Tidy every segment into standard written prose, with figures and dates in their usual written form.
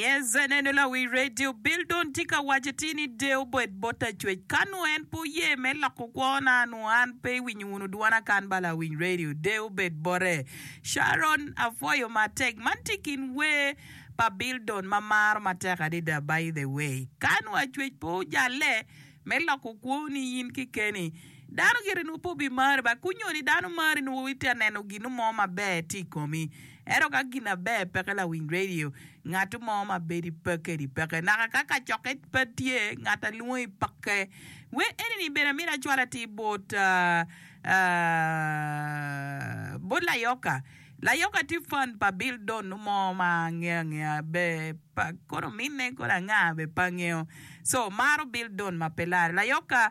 Yes, aneno lawi radio Bill Don tye ka waco atir ni deyo bed bot Lacwec. Ka nongo en pe oye me loko kwona, nongo an pe iwinyo wunu dwona kan ba lawiny radio. Deyo bed bote. Sharon, apwoyo matek. Man tye i kin wer pa Bill Don ma maro matek adada by the way. Ka nongo Lacwec pe ojalle me loko kwoni in kekeni, dano gire nongo pe obimari ba. Kunyo ni dano mari nongo itye ka neno gin mo maber tye i komi. Ento ka gin aber peke lawiny radio, ngat mo ma bedo i peke-ni peke. Naka ka kacokke pe tye, ngat a lwongi peke. Wer eni-ni bene amito acwal atir bot bot Layoka. Layoka tye fan pa Bill Don mo ma angeyo angeya be pa kono minne kono anga be pe angeyo. So maro Bill Don ma pe lare. Layoka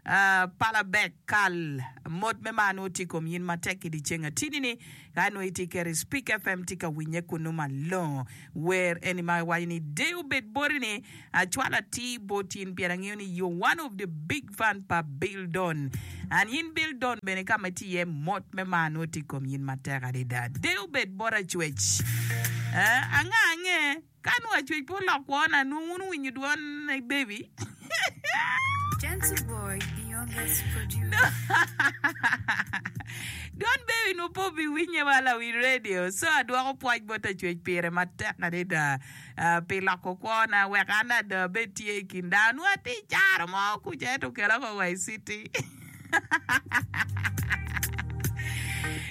Pala bek kal mot me mar nongo tye i kom yin matek i dyeceng atini ni ka nongo itye keto i Speak FM tye ka winye kunu malongo. Wer eni ma waco ni deyo obed boti ni acwalo atir bot in pien angeyo ni you one of the big fan pa Bill Don and yin Bill Don bene ka ma itye iye mot me mar nongo tye i kom yin matek adada. Deyo obed bot Acwec. Anga ange? Ka nongo acwec pe olok kwona, nongo wun wuwinyo dwon baby. Gentle boy, the youngest producer. Dwon baby nongo pe obiwinye wa lawiny radio. So adwoko pwoc bot acwec pire matek adada ah, pi loko kwona wek an ada abed tye i kin dano. Nongo atye i caro mo kuca ento okela oko wa i city.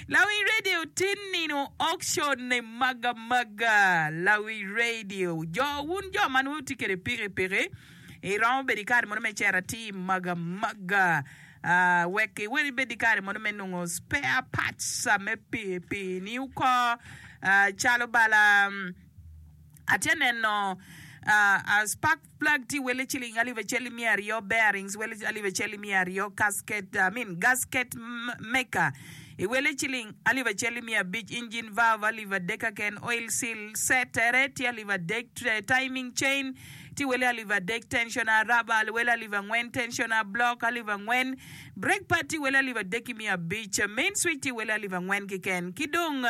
Lawi radio tin nino auction ne maga maga Lawi radio jo wun jo ma nongo tye kede piki piki iromo bedo ikare mono me cito atir maga maga ah, wek iweri ibed ikare mono me nongo spare parts me piki piki ni oko ah, calo bala atye neno ah, spark Plug tye wele ciling alip acel ki miya aryo, bearings wele alip acel ki miya aryo, casket, I mean gasket maker i wele ciling alip acel ki miya abic, engine valve alip adek keken, oil seal set tere tye alip adek, timing chain tye wele alip adek, tensioner rubber wele alip angwen, tensioner block alip angwen, brake pad tye wele alip adek ki miya abic, main switch tye wele alip angwen keken ki dong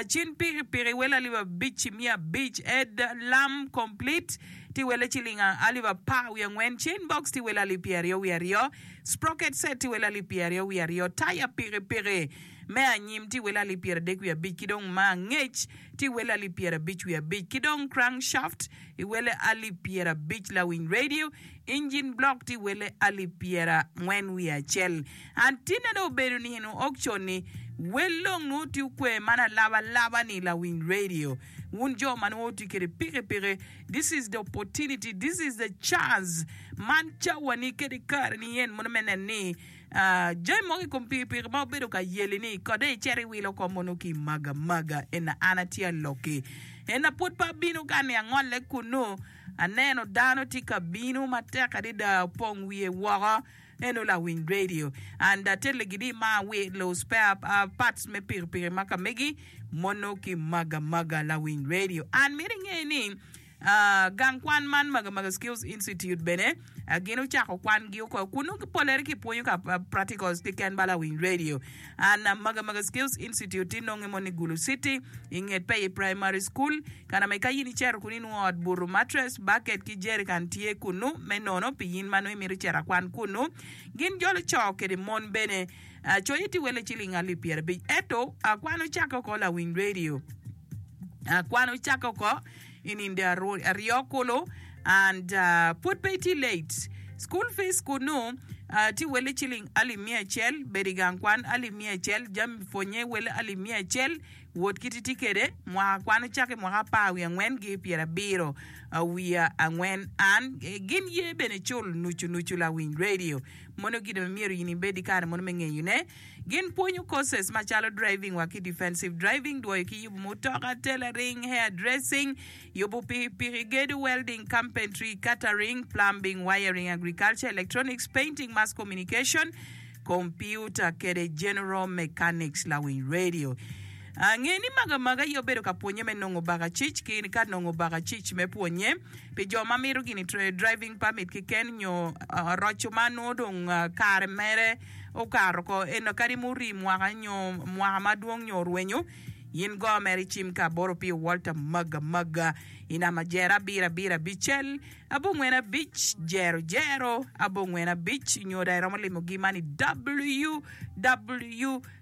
cin pikipiki wele alip abic ki miya abic, head lamp complete tye wele ciling alip apar wiye angwen, chain box tye wele alip pyeraryo wiye aryo, sprocket set tye wele alip pyeraryo wiye aryo, taya pikipiki me anyim tye wele alip pyeradek wiye abic ki dong ma angec tye wele alip pyerabic wiye abic ki dong crank shaft i wele alip pyerabic lawiny radio, engine block tye wele alip pyerangwen wiye acel. An tinne dong obedo nino auction ni wel dong nongo tye okwe man alaba alaba ni lawiny radio. Wun jo ma nongo wutye kwede pikipiki, this is the opportunity, this is the chance, man cawani kede kareni en mono me neno ni jami mogo i kom pikipiki ma wubedo ka yeli ni kode icito iwilo oko mono ki maga maga ena an atye aloki ena pwod pe abino ka ni angolle kunu aneno dano tye ka bino matek adada opong wiye woko. Eno lawiny radio and atelle gidi ma wilo spare parts me pikipiki ma ka megi mono ki maga maga lawiny radio and mito inge ni gang kwan man maga maga skills institute bene gin ocako kwan gi oko kunu polere ki pwonyo ka practicals keken ba lawiny radio and maga maga skills institute ti nonge mono i Gulu city inget Peye primary school Kana me ka in icito kunu inwongo ot buto, mattress, bucket ki jerrican tye kunu me nono pi in ma nongo imito cito akwan kunu. Gin jolo co kede mon bene. Coye tye wele ciling alip 50. Ento kwan ocakke oko lawiny radio. Kwan ocakke oko i ninde aryo kulu and pwod pe itye late. School fees kunu tye wele ciling alip 100, bedo i gang kwan alip 100, jami pwonye wele alip 100. Wot kit itye kwede, mwaka kwan ocakke mwaka apar wiye angwen ki pyerabiro wiye angwen. An gin ye bene cul nucu nucu lawiny radio. Mono gin ma myero in ibed ki kare mono me ngeyo ne. Gin pwonyo courses macalo driving wa ki defensive driving, dwoyo ki yubo mutoka, tailoring, hair dressing, yubo pikipiki, gedo, welding, carpentry, catering, plumbing, wiring, agriculture, electronics, painting, mass communication, Kompiuta kede General Mechanics lawiny radio. Nge ni maga maga aye obedo ka pwonye me nongo bakacic ki ka nongo bakacic me pwonye pi jo ma mito gini driving permit keken nyo roco ma nongo dong kare mere okato oko eno kadi muri mwaka nyo mwaka madwong nyo orwenyo. In go mere icim ka bot Opio Walter Maga Maga i namba jero abiro abiro abicel abongwen abic jero jero abongwen abic nyo dong iromo limogi man i www.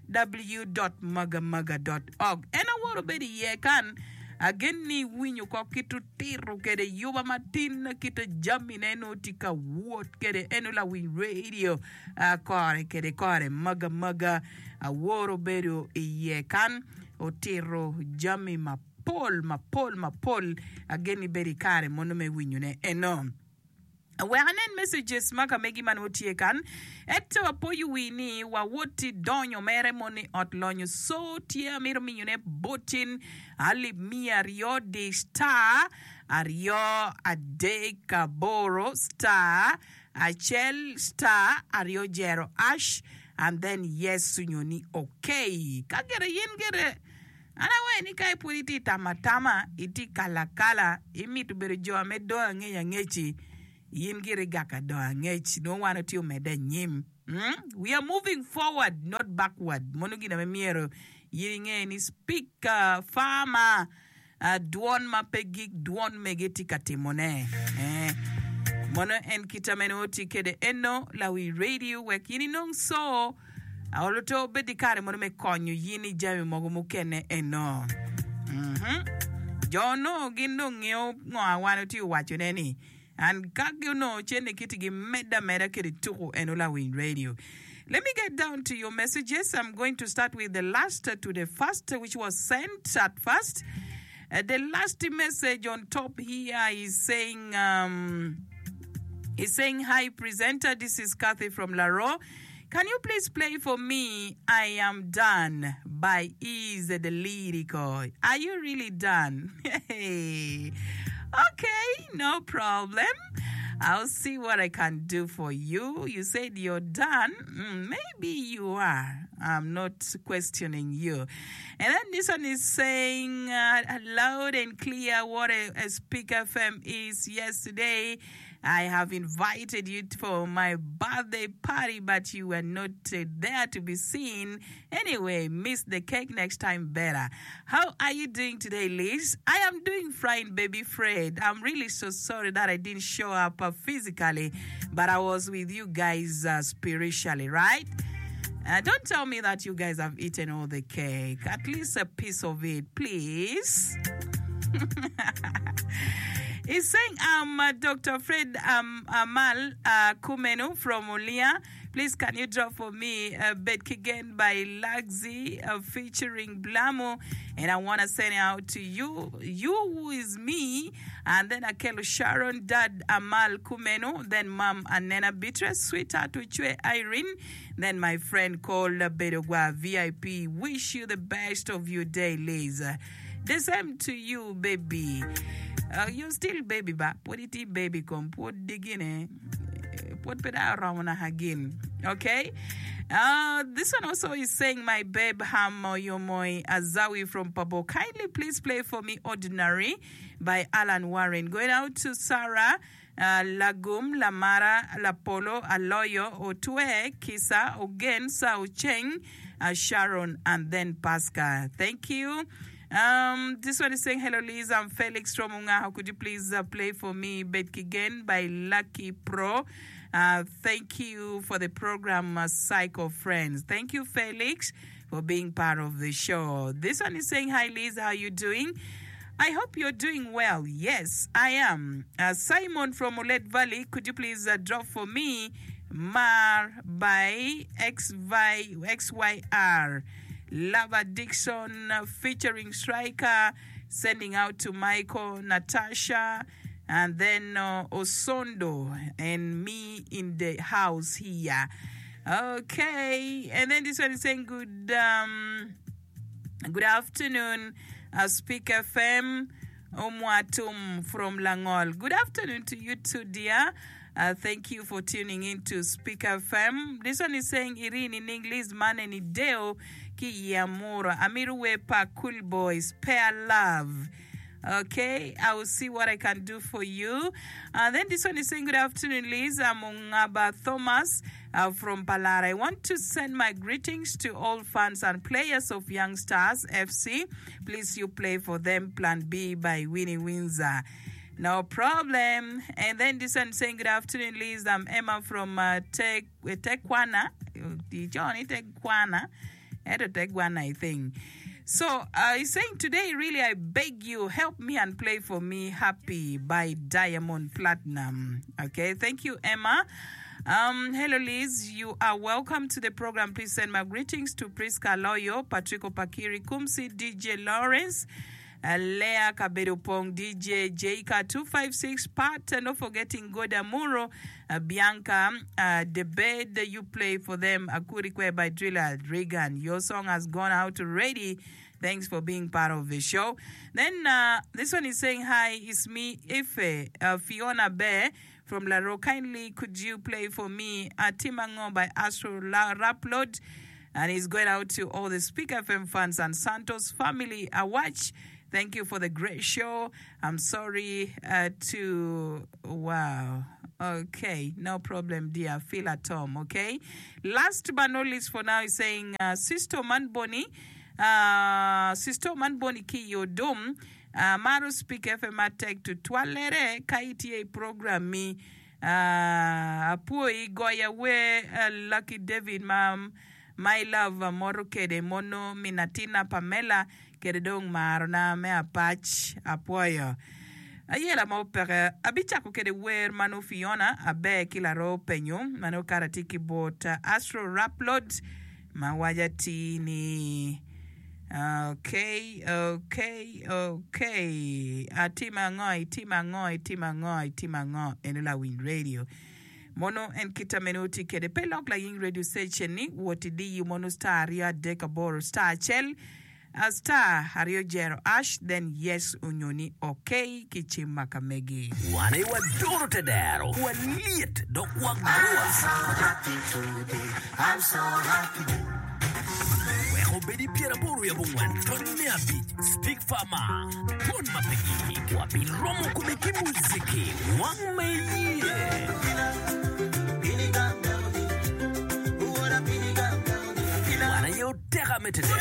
www.magamaga.org. En aworo bedo iye kan agen ni iwinyo ko kit otito kede yuba matin kit jamine nongo tye ka wot kede eno lawiny radio kore kede kore magamaga aworo bedo iye kan otito jami mapol mapol mapol agen ni bedo ikare mono me winyone eno. Wek anen messages ma ka megi ma nongo tye kan. Ento apoyo wi ni wa woti donyo mere mono i ot lonyo so tye amito miyone botin alip miya aryo di star aryo adek aboro star acel star aryo jero ash and then yes onyo ni okay. Ka gire yin gire An awaco ni ka pud itye tamo atama, itye kalo akala, imito bedo jo me dongo angec angec-ci, in gire igak ka dongo angec, nongo wan watye omedde anyim. We are moving forward not backward. Mono gin ame myero in inge ni speak farmer dwon ma pe gik dwon mege tye ka timone. Mono en kit ame nongo tye kede eno lawi radio wek in inong so. Olo to obed ki kare mono me konyo yin i jami mogo mukene eno. Mhm. Jo onongo gin dong ngeyo ngo a wan otye waco ne ni and ka gi onongo cene kiti gi medde ameda kede tuku eno lawiny radio. Let me get down to your messages. I'm going to start with the last to the first which was sent at first. Uh, the last message on top here is saying um, is saying hi presenter this is Kathy from Laro Can you please play for me I am done by Eaze the Lyrical Are you really done? Hey okay no problem I'll see what I can do for you You said you're done mm, maybe you are I'm not questioning you And then this one is saying uh, loud and clear what a, a Speak FM is yesterday I have invited you for my birthday party, but you were not uh, there to be seen. Anyway, miss the cake next time better. How are you doing today, Liz? I am doing fine, baby Fred. I'm really so sorry that I didn't show up uh, physically, but I was with you guys uh, spiritually, right? Uh, don't tell me that you guys have eaten all the cake. At least a piece of it, please. He's saying, I'm uh, Dr. Fred um, Amal uh, Kumenu from Ulia. Please, can you drop for me uh, Bed Kigen by Lagzi uh, featuring Blamu? And I want to send it out to you, you who is me, and then Akelo Sharon, Dad Amal Kumenu, then Mom Anena Beatrice, Sweetheart Uchwe Irene, then my friend called Bedogwa VIP. Wish you the best of your day, Liz. The same to you, baby. Uh, you still baby ba pwod itye baby kom pwod gine pwod pe dong oromo naka gin. Okay? Uh, this one also is saying, my babe Ham Yomoi Azawi from Pabo. Kindly please play for me Ordinary by Alan Warren. Going out to Sarah uh, Lagum, Lamara, Lapolo, Aloyo, Otwe, Kisa, Ogen, Sao Cheng, uh, Sharon, and then Pascal. Thank you. Um, this one is saying, Hello, Liz. I'm Felix from Ungaho. Could you please uh, play for me Bed Kigen by Lucky Pro? Uh, thank you for the program, uh, Psycho Friends. Thank you, Felix, for being part of the show. This one is saying, Hi, Liz. How are you doing? I hope you're doing well. Yes, I am. Uh, Simon from Olet Valley, could you please uh, drop for me Mar by XY, XYR? Love Addiction uh, featuring Striker, sending out to Michael, Natasha, and then uh, Osondo and me in the house here. Okay, and then this one is saying good. Um, Good afternoon, uh, Speak FM Omwatum from Langol. Good afternoon to you too, dear. Uh, thank you for tuning in to Speak FM. This one is saying Irene in English, man ni deo ki yamura. Amiru we pa cool boys, spare love. Ok, I will see what I can do for you. And then this one is saying, Good afternoon, Liz. I'm Ongaba Thomas uh, from Palara. I want to send my greetings to all fans and players of Young Stars FC. Please, you play for them. Plan B by Winnie Windsor. No problem. And then this one saying, Good afternoon, Liz. I'm Emma from uh, Te Tekwana. Ico ni Tekwana. Ento Tegwana, I think. So, uh, he's saying today, really, I beg you, help me and play for me Happy by Diamond Platinum. Okay, thank you, Emma. Um, hello, Liz. You are welcome to the program. Please send my greetings to Priska Loyo, Patrico Pakiri Kumsi, DJ Lawrence, uh, Lea Kabedo Pong, DJ Jka 256, Pat, and not forgetting Goda Muro, Bianca, The Bed You Play For Them, Akuri Kwer by Driller Reagan. Your song has gone out already. Thanks for being part of the show. Then uh, this one is saying, Hi, it's me, Ife, uh, Fiona Bear from Laro. Kindly, could you play for me uh, Timango by Astro La Raplod? And he's going out to all the Speak FM fans and Santos family. A watch. Thank you for the great show. I'm sorry uh, to wow. Okay, no problem, dear. Feel at home, okay? Last but not least for now is saying, uh, Sister Man Bonnie, uh, Sister Man Bonnie ki Yodum, uh, Maro Speak FM atek to twalere ka itye i program mi uh, apwoyi goya wer uh, Lucky David ma My love amoto kede mono min atina Pamela kede dong marona me apac apwoyo. Ayela mo peke abicako kede wer ma nongo Fiona aber ki laroo penyo ma nongo kara tye ki bot Astro Raplod ma waco atir ni ok ok ok atimo ango itimo ango itimo ango itimo ango eno lawiny radio. Mono en kita mene wuti kede? Pe lok laying radio station ni wot idiyi mono star 238 star acel star aryo jero ash then yes onyo ni ok ki cim ma ka megi. Wan aye wadoro te dero, walyet dok wagwa. Wek obed i pyeraboro wiye abongwen tony me abic, Speak Farmer, Twon ma pe gik, wabiromo kome ki muziki wang ma iye. Wan aye oteka me te dero.